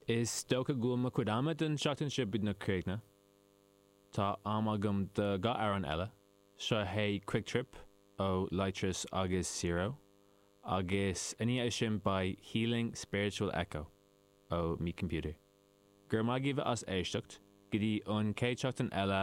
Is dócha go bhfuil mo chuid ama don seachtain seo beagnach críochnaithe. Tá am agam do 2 amhrán eile. Seo é Quick Trip ó Lightress agus Syro agus i ndiaidh sin beidh Healing Spiritual Echo ó Me Computer. Go raibh maith agaibh as éisteacht. Go dtí an chéad seachtain eile.